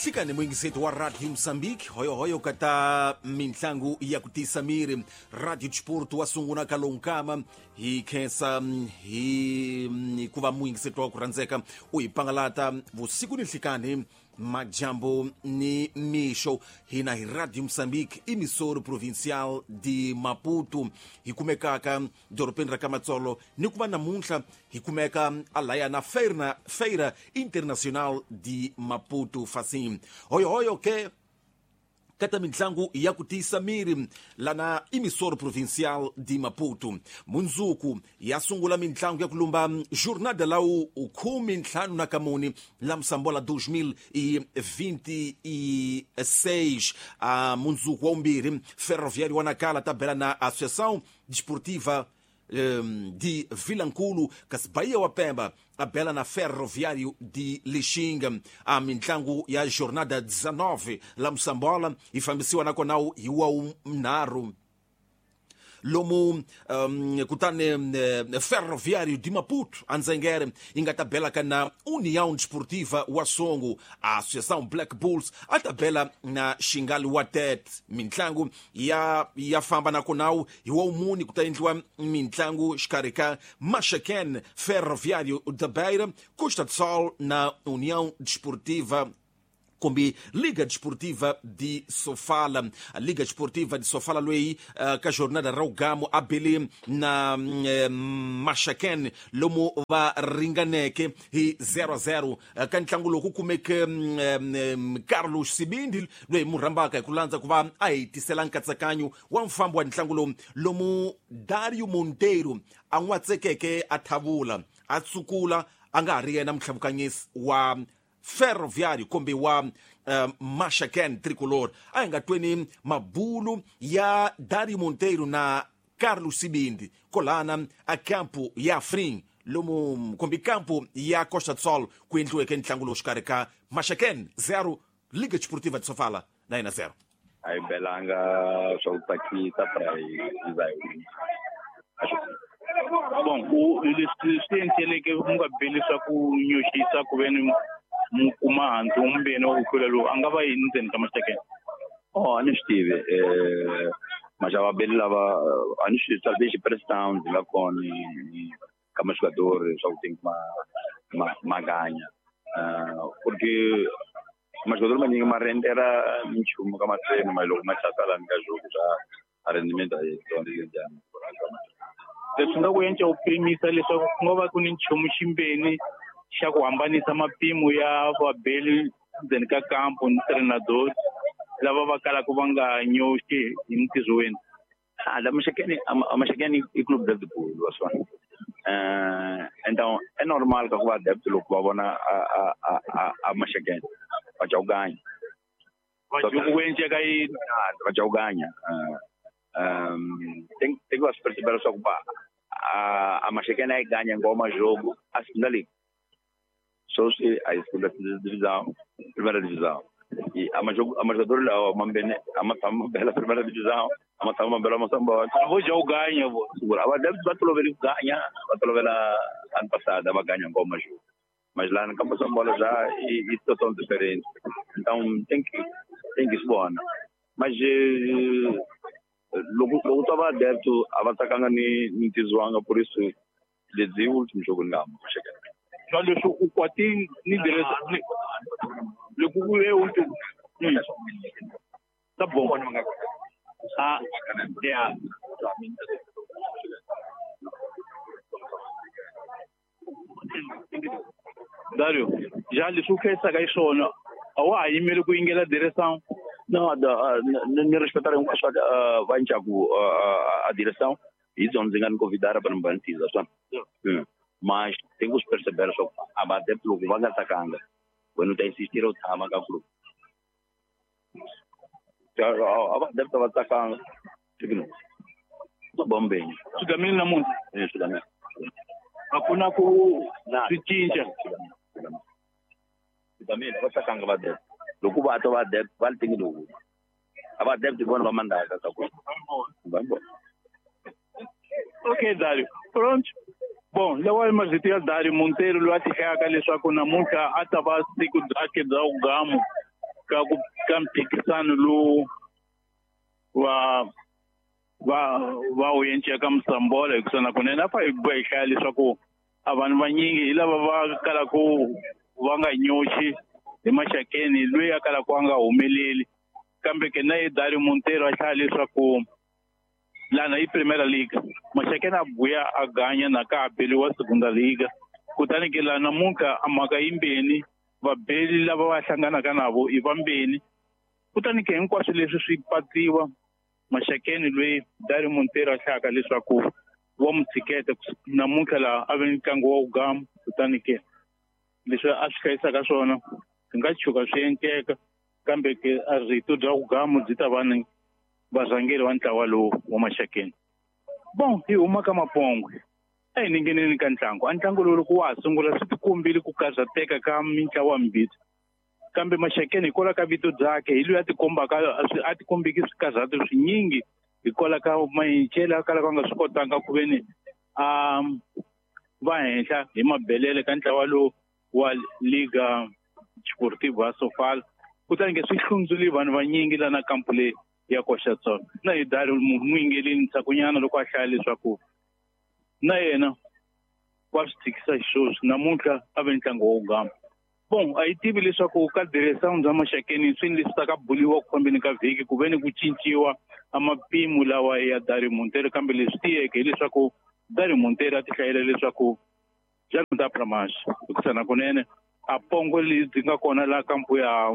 Nhlikani muyingiseti wa Radio Mozambique, hoyohoyo ka ta mintlangu ya ku tisa miri. Radio Sport wa sungula ka lonkama hi khensa hi ku va muyingiseti wa ku rhandzeka u hi pangalata vusiku ni nhlikani, majambo ni mixo. Hina hi Radio Mozambique, emissora provincial de Maputo, hi kumekaka dorobeni ra Kamatsolo, ni ku va namuntlha hi kumeka alaya na Feira Internacional de Maputo Facim. Hoyohoyo ke kata mintlangu ya ku tiyisa miri lana emissora provincial de Maputo. Mundzuku ya sungula mintlangu ya ku lumba jornada lawu 54 la Moçambola 2026. A mundzuku wa umbirhi, Ferroviário wa Nacala ta bela na Associação Desportiva de Vilankulo, kasi Bahia wa Pemba a bela na Ferroviário de Lixinga. A mintlangu ya jornada 19 la Moçambola yi fambisiwa nakona hi wa nharhu lomu kutani Ferroviário de Maputo andzengere yi nga ta bela ka na União Desportiva wa Songo. A Associação Black Bulls a ta bela na Xingali wa Tete. Mintlangu ya famba nakona hi wa muni ku ta endliwa mintlangu xikarhi ka Maxaquene, Ferroviário da Beira, Costa do Sol na União Desportiva kumbe Liga Desportiva de Sofala. A Liga Desportiva de Sofala loyi ka jornada ra ugamo a bele na Maxaquene lomu va ringaneke hi 0-0. Ka ntlangu lowu ku kumeke Carlos Sibindi loyi mu rhambaka hi ku landza ku va a hi tisela nkatsakanyo wa mfambo wa ntlangu lowu, lomu Dario Monteiro a n'watsekeke a thavula a tsukula a nga ha ri yena mutlhavukanyisi wa Ferroviário kumbe wa Maxaquene Tricolor. A hi nga tweni mabulu ya Dario Monteiro na Carlos Sibindi kolana a campo ya Frim lomu kumbe campo ya Costa do Sol ku endliweke ntlangu lowu xikarhi ka Maxaquene 0, Liga Desportiva de Sofala 9-0. A hi belanga swa ku tsakisa pra hi za hi wina. Bon, ku leswi swi endleleke mu nga beli swa ku nyoxisa ku ve ni mu kuma hansi wumbeni wa ku hlula lowu a nga va yini ndzeni ka Maxaquene? Oh, a ni swi tivi maxava beli lava a ni swi talvez pressão ndzi nga kona ka majogadores swa ku tem ma ganha, porque majogador manyingi ma rendera minchumu ka matreno, ma loko ma tlasa lani ka jogo swa a rendimento a yi njhani. Leswi nga ku endla u pimisa leswaku ku nga va ku ni nchumu ximbeni xa ku hambanisa mapimo ya vabeli ndzeni ka kampo ni treinador lava va kalaka va nga nyoxi hi ntirho wenu. La Maxaquene, a Maxaquene i clube de futebol, wa swona. Então é normal que o adepto loko va vona a Maxaquene va ca ku ganya. Loko ku endleka yini? Va ca ku ganya. Tem que perceber só que a Maxaquene aí ganha ngoma jogo a segunda liga. Só se a segunda divisão, primeira divisão. E a jogador lá, a mambene, a matama bela primeira divisão, a matama bela Moçambola. Vou já o ganha, vou. Segura. A deve bater o ganha, bater ano passado, ela ganha ngoma jogo. Mas lá no Campo São Bola já e situação diferente. Então tem que se boa. Mas logo estava adepto, a atacanga ni tizuanga, por isso desde o último jogo não cheguei. Olha, o Quatin ni direção. Loko ku ve último. Tá bom. Ah, yeah. Dario, já leswi u khensaka hi swona a wa ha yimeli ku yingela direção? Não, ni respeitar hinkwaswo va ncaku a direção hi byona ndzi nga ni convidar para ni bantiza swona. Mas tem que perceber só a adepto loko va nga tsakanga wena u ta insistir u tshama ka club. A adepto va tsakanga no bombeni swi namuntlha swi a ku na ku swi cinca swi va tsakanga va adepto loko va twa va adepto va li tingi loku a va adepto vona va mandaka ka ku. Okay, Dario, pronto. Bom, lawa mazito ya Dario Monteiro loyi a tihlayaka leswaku namuntlha a ta va siku byakhe bya ugamo ka ku ka mphikisano lowu va va va wu enceka Musambola hikusa nakunene a fa hi boha hi hlaya leswaku a vanhu vanyingi hi lava va kalaku va nga nyoxi hi Maxakeni loyi a kalaku a nga humeleli kambe ke na ye Dario Monteiro a hlaya leswaku lana i Primeira Liga Maxakeni a buya a ganya na ka beliwa Segunda Liga kutani ke la namuntlha a mhaka yimbeni vabeli lava va hlanganaka navo i vambeni kutani ke hinkwaswo leswi swi patsiwa Maxakeni loyi Dario Monteiro a hlayaka leswaku wa mu tshiketa namuntlha laha a ve ni ntlangu wa ugama kutani ke leswi a swi hlayisaka swona swi nga tshuka swi endleka kambe ke a rito bya vugamu byi ta va ni varhangeri va ntlawa lowu wa Maxakeni. Bon hi huma ka Mapongwe a hi ningeneni ka ntlangu a ntlangu lowu loko wa ha sungula swi tikombile ku karhateka ka mintlawa mimbirhi kambe Maxakeni hikwalaho ka vito byakhe hi loyi a tikombaka a tikombeki swikarhato swinyingi hikwalaho ka mayincele a kalaka a nga swi kotanga ku ve ni a va henhla hi mabelele ka ntlawa lowu wa Liga Desportiva Sofala kutani ke swi hlundzule vanhu vanyingi lana kampu leyi ya Costa do Sol na hi Dario n'wingeleni ndzhakunyana loko a hlaya leswaku na yena wa swi tshikisa xisweswi namuntlha a ve ntlangu wa ugama. Bon a yi tivi leswaku ka direção bya Maxakeni swini leswi ta ka buliwa ku fambeni ka vhiki ku ve ni ku cinciwa a mapimo lawa ya Dario Monteiro kambe leswi tiyeke hileswaku Dario Monteiro a ti hlayela leswaku já não dá para mais hikusa nakunene a pongo lebyi nga kona laha kampu ya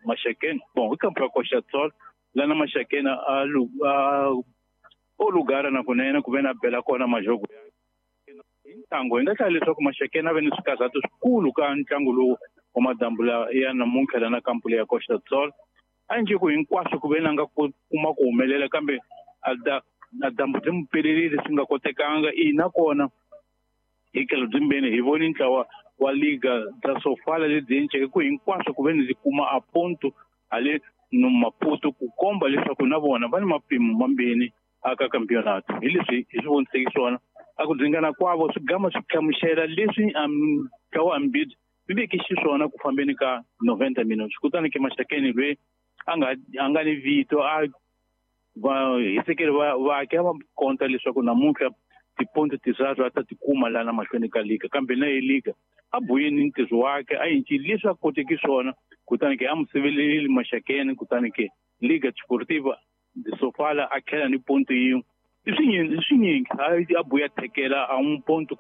Maxakeni bon i kampu ya Costa do Sol lana Maxakeni a o lugara nakunene ku ve na bela kona majogo hi ntlangu hi nga hlaya leswaku Maxakeni a ve ni swikarhato swikulu ka ntlangu lowu wa madambula ya namuntlha lana kampu leya Costa do Sol a njhe ku hinkwaswo ku ve na nga kuma ku humelela kambe a dyambu byi mu pelelile swi nga kotekanga ina kona hi tlhelo byimbeni hi voni ntlawa wa Liga bya Sofala lebyi enceke ku hinkwaswo ku ve ni kuma a ponto hale no Maputo ku komba leswaku na vona va ni mapimo mambeni aka campeonato hi leswi hi swi voniseki swona a ku dzingana kwavo swi gama swi hlamusela leswi ntlawa ambili swi veke xiswona ku fambeni ka 90 minutes kutani ke Maxakeni loyi a nga ni vito a va hisekeli va va konta leswaku namuntlha tiponto tinharhu a ta tikuma lana mahlweni ka liga kambe na ye liga a buyeni ntirho wakhe a yincile leswi a koteki swona kutani ke a mu siveleli Maxakeni kutani ke Liga Desportiva de Sofala a tlhela ni ponto yin'we i swinyingi a buya thekela a n'wi ponto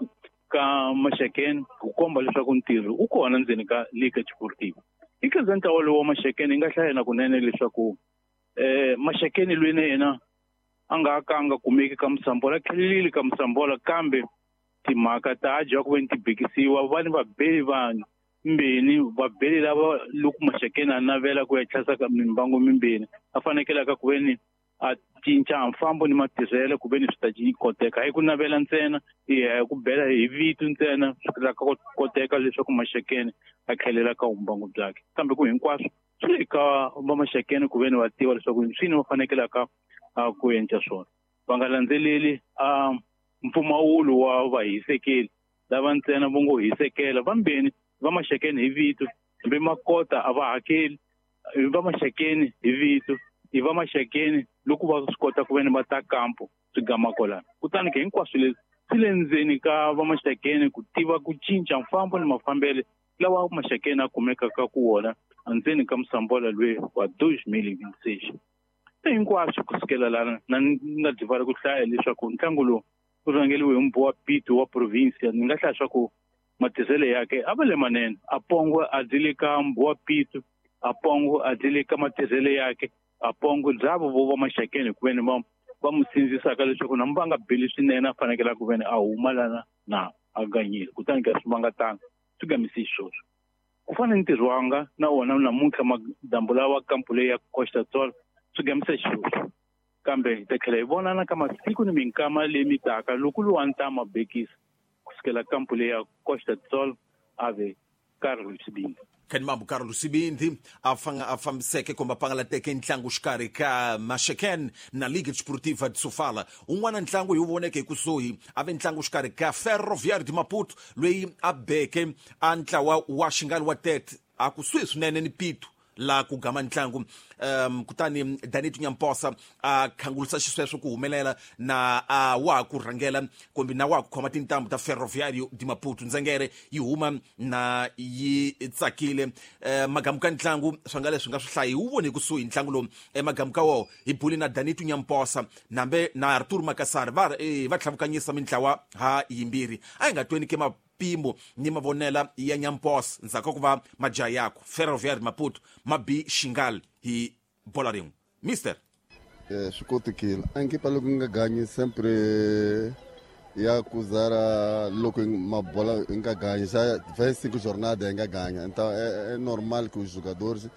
ka Maxakeni ku komba leswaku ntirho u kona ndzeni ka Liga Desportiva hi tlhelo ntlawa lowu wa Maxakeni hi nga hlaya na kunene leswaku Maxakeni loyi na yena a nga ka a nga kumeki ka Musambola a tlhelelile ka Musambola kambe timhaka ta dya ku ve ni ti bikisiwa va ni vabeli vanhu mbeni vabeli lava loko Maxakeni a navela ku ya tlhasa ka mimbangu mimbeni a fanekelaka ku ve ni a cinca mfambo ni matirhelo ku ve ni swi ta koteka hi ku navela ntsena hi ku bela hi vito ntsena swi ta koteka leswaku Maxakeni a tlhelela ka vumbangu byakhe kambe ku hinkwaswo swi le ka va Maxakeni ku ve ni va tiva leswaku swini va fanekelaka ku endla swona va nga landzeleli a mpfumawulo wa vahisekeli lava ntsena vo ngo hisekela vambeni va Maxakeni hi vito hambi makota a va hakeli va Maxakeni hi vito i va Maxakeni loko va swi kota ku ve ni va ta kampo swi gama kwalano kutani ke hinkwaswo leswi swi le ndzeni ka va Maxakeni ku tiva ku cinca mfambo ni mafambele lawa Maxakeni a kumekaka ku wona endzeni ka Musambola loyi wa 2026 hinkwaswo kusukela lana na nga byi ku hlaya leswaku ntlangu lowu u rhangeriwe hi mbuwa Pito wa provinsia ni nga hlaya swa ku matirhelo yakhe a va le manene a pongo a dyi le ka mbuwa Pito a pongo a dyi le ka matirhelo yakhe a pongo byavo vo va Maxakeni ku veni va mu sindzisaka leswaku na va nga beli swinene a fanekele ku veni a huma lana na a ganyile kutani ka swi vanga tanga swi gamisi xisweswo ku fana ni ntirho wanga na wona namuntlha madambu lawa kampu leyi ya Costa do Sol swi gamisa xisweswo kambe hi ta tlhela hi vonana ka masiku ni minkama leyi mi taka loko luwa ni ta mabekisa kusukela kampu leyi ya Costa do Sol a ve Carlos Sibindi Khanimambu Carlos Sibindi a fambiseke kumbe a pangalateke ntlangu xikarhi ka Maxeken na Liga Desportiva de Sofala un'wana ntlangu hi wu voneke hi kusuhi a ve ntlangu xikarhi ka Ferroviário de Maputo loyi a beke a ntlawa wa Xingali wa Tete a kusuhi swinene ni Pito. la ku gama ntlangu. Kutani Danito Nyamposa a khangulisa xisweswo ku humelela na a wa ku rhangela kumbe na wa ku khoma tintambu ta Ferroviário de Maputo. Ndzengere yi huma na yi tsakile. Magamu ka ntlangu swa nga leswi nga swi hlayi wu vone kusuhi ntlangu lowu. Magamu ka woho hi buli na Danito Nyamposa nambe na Arthur Makassar va tlhavukanyisa mintlawa ha yimbirhi. A hi nga tweni ke mapimo ni mavonela ya Nyamposa ndzhaku ka ku va majaha yakwe Ferroviário de Maputo ma bi Xingal hi bola rin'we. Mister swi kotekile a nkipa loko nga ganyi sempre ya kuzara loko mabola nga ganyi já 25 jornada nga ganha, então é normal que os jogadores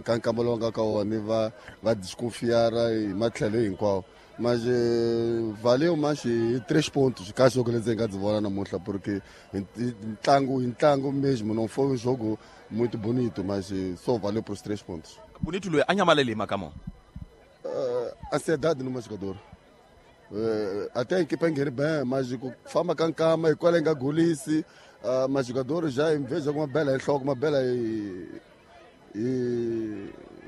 ka nkamba lowu nga ka wona va desconfiar hi matlhelo hinkwawo. Mas valeu mais 3 pontos ka jogo lezi nga ndzi vona namuntlha, porque ntlangu mesmo não foi um jogo muito bonito, mas só valeu por os 3 pontos. Bonito loyi a nyamalele hi mhaka mo ansiedade numa jogador. Até a equipa engere bem, mas ku famba ka nkama hikwalaho nga golisi, mas jogador já em vez de alguma bela enhloko, uma bela hi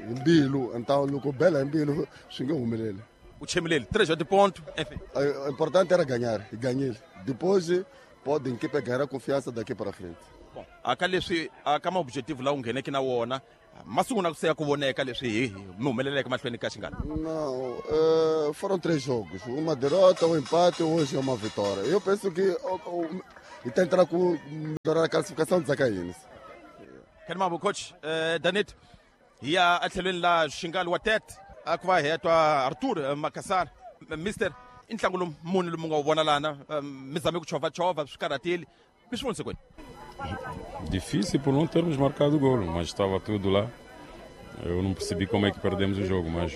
mbilu, então loko bela hi mbilu swi nge humeleli. U chemileli 3 pontos, enfim. O importante era ganhar, e ganhei. Depois pode a equipa ganhar a confiança daqui para frente. Bom, aka leswi aka ma objetivo lawa u ngheneke na wona masungula ku seya ku voneka leswi hi mi humeleleke mahlweni ka Xingalo. Não, foram 3 jogos, uma derrota, um empate, hoje é uma vitória. Eu penso que e tá entrar com melhorar a classificação do Zacaínes. Kenmabo coach Danito hi ya etlhelweni la Xingalo wa Tete a ku va hetwa Arthur Makassar. Mister, i ntlangu lowu muni lomu nga wu vona lana mi zame ku chovachovha swi karhatile mi swi vonise kwini? Difícil por não termos marcado o golo, mas estava tudo lá. Eu não percebi como é que perdemos o jogo, mas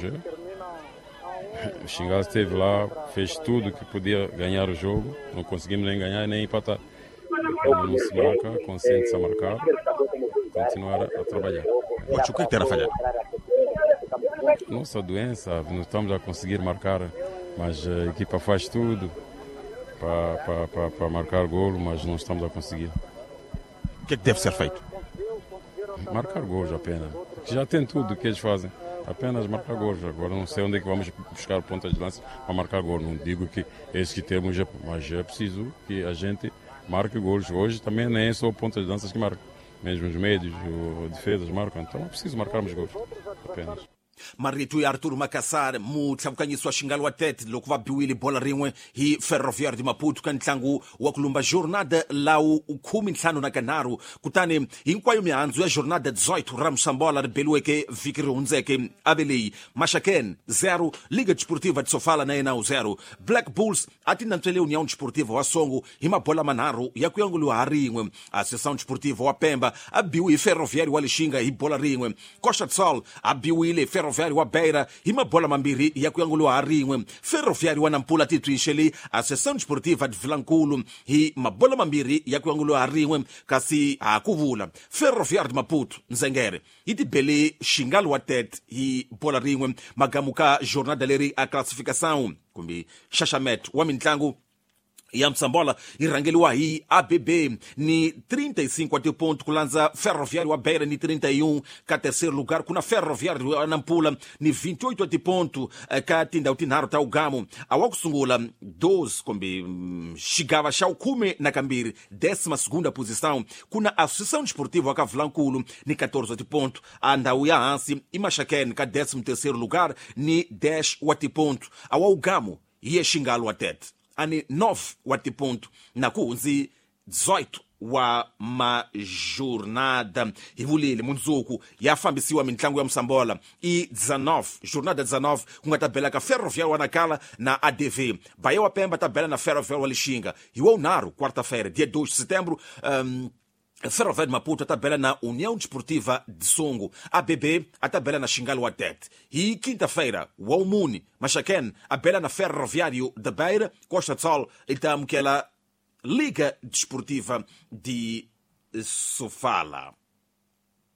o Xingal esteve lá, fez tudo que podia ganhar o jogo. Não conseguimos nem ganhar nem empatar. Quando não se marca, consente-se a marcar, continuar a trabalhar. O que terá falhado? Nossa doença, não estamos a conseguir marcar, mas a equipa faz tudo para marcar golo, mas não estamos a conseguir. O que é que deve ser feito? Marcar gols apenas. Já tem tudo o que eles fazem. Apenas marcar gols. Agora não sei onde é que vamos buscar pontas de lança para marcar gol. Não digo que esses que temos, mas é preciso que a gente marque gols. Hoje também nem só pontas de lança que marcam. Mesmo os médios, os defesas marcam. Então é preciso marcarmos gols apenas. Marito ya Arthur Makassar mutlhavukanyisi wa Xingalo wa Tete loko va biwile bola rin'we hi Ferroviário de Maputo ka ntlangu wa ku lumba jornada lawu 15 na kutani hinkwayo mihandzu ya jornada 18 ra Mosambola ri beliweke vhiki ri hundzeke ave leyi Maxaken 0 Liga Desportiva de Sofala na yena 0 Black Bulls a ti nantswele União Desportiva wa Songo hi mabola manharhu ya ku yanguliwa ha rin'we. Associação Desportiva wa Pemba a biwe hi Ferroviário wa Lixinga hi bola rin'we. Costa do Sol a biwile Ferroviário wa Beira hi mabola mambirhi ya ku yanguliwa ha rin'we. Ferroviário wa Nampula titwinxele Associação Desportiva de Vilankulu hi mabola mambirhi ya ku yanguliwa ha rin'we. Kasi ha ku vula Ferroviário de Maputo Nzengere yi tibele Xingalo wa Tete hi bola rin'we. Magamu ka jornada leri a classificação kumbe xaxameto wa mintlangu ya Mosambola yi rhangeliwa hi ABB ni 35 wa tiponto ku landza Ferroviário wa Beira ni 31. Ka terceiro lugar kuna Ferroviário wa Nampula ni 28 wa tiponto ka tindhawu tinharhu ta ugamo. A wa ku sungula 12 kumbe xigava xa 12 12ª posição kuna Associação Desportiva wa ka Vilankulu ni 14 wa tiponto. A ndhawu ya hansi i Maxaken ka 13º lugar ni 10 wa tiponto. A wa ugamo hi ye Xingalo wa Tete ani 9 wa tiponto na ku hundzi 18 wa majornada. Hi vulile mundzuku ya fambisiwa mintlangu ya Mosambola i 19 jornada 19 ku nga ta bela ka Ferroviário wa Nacala na ADV. Bahia wa Pemba ta bela na Ferroviário wa Lixinga. Hi wa unharhu quarta-feira dia 2 de setembro, Ferroviário de Maputo a tabela na União Desportiva de Songo. ABB a tabela na Xingalo wa Tete. E quinta-feira, o Almune, Maxaquene, a bela na Ferroviário da Beira, Costa do Sol e aquela Liga Desportiva de Sofala.